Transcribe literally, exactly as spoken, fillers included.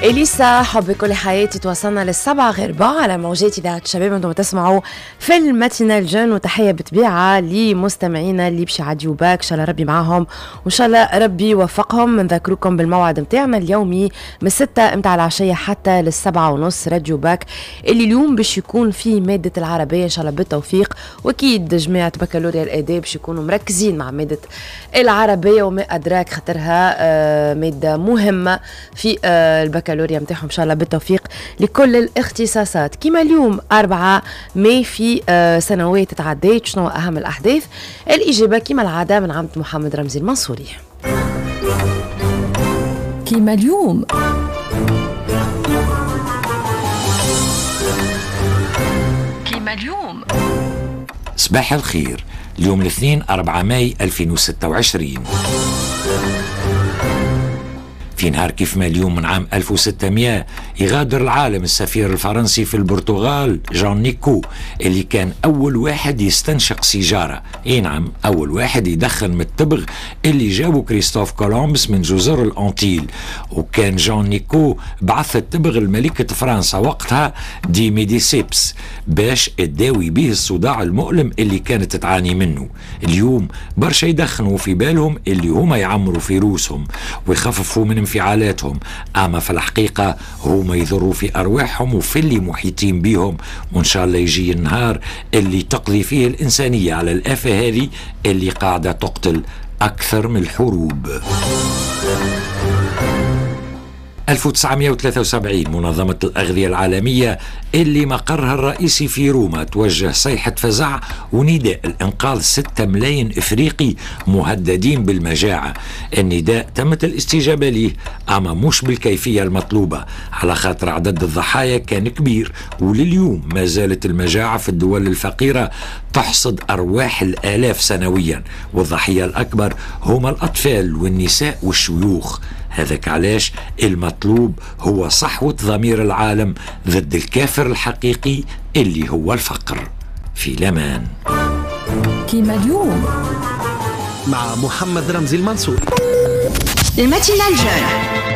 إليسا حب كل حياتي. توصلنا للسبعة غير ربع على موجات إذاعة الشباب، أنتم تسمعوا في ال matinale jeune، وتحية بطبيعة لمستمعينا اللي باش يعديوا باك، إن شاء الله ربي معاهم وإن شاء الله ربي يوفقهم. نذكركم بالموعد نتاعنا اليومي من ستة متاع العشية حتى للسبعة ونص، راديو باك اللي اليوم باش يكون فيه مادة العربية، إن شاء الله بالتوفيق. وأكيد جماعة بكالوريا الآداب باش يكونوا مركزين مع مادة العربية وما أدراك، خاطرها آه مادة مهمة في آه البكالوريا نتاعهم. ان شاء الله بالتوفيق لكل الاختصاصات. كما اليوم أربعة ماي في سنوات تعديت، شنو اهم الاحداث؟ الاجابة كما العادة من عمد محمد رمزي المنصوري. كما اليوم كما اليوم صباح الخير. اليوم الاثنين أربعة ماي ألفين وستة وعشرين، في نهار كيف ما اليوم من عام ألف وستمائة يغادر العالم السفير الفرنسي في البرتغال جان نيكو، اللي كان أول واحد يستنشق سيجارة. اي نعم، أول واحد يدخن من التبغ اللي جابه كريستوف كولومبس من جزر الأنتيل. وكان جان نيكو بعث التبغ لملكة فرنسا وقتها دي ميديسيبس باش تداوي به الصداع المؤلم اللي كانت تعاني منه. اليوم برشا يدخنوا في بالهم اللي هما يعمروا في روسهم ويخففوا من انفعالاتهم، اما في الحقيقة هما يضروا في ارواحهم وفي اللي محيطين بيهم. وان شاء الله يجي النهار اللي تقضي فيه الانسانية على الافة هذه اللي قاعدة تقتل اكثر من الحروب. ألف وتسعمائة وثلاثة وسبعين منظمة الأغذية العالمية اللي مقرها الرئيسي في روما توجه صيحة فزع ونداء الإنقاذ ستة ملايين إفريقي مهددين بالمجاعة. النداء تمت الاستجابة ليه، أما مش بالكيفية المطلوبة، على خاطر عدد الضحايا كان كبير، ولليوم ما زالت المجاعة في الدول الفقيرة تحصد أرواح الآلاف سنويا، والضحية الأكبر هما الأطفال والنساء والشيوخ. هذاك علاش المطلوب هو صحوة ضمير العالم ضد الكافر الحقيقي اللي هو الفقر. في لمان كيما اليوم مع محمد رمزي المنصوري، ال matinale jeune.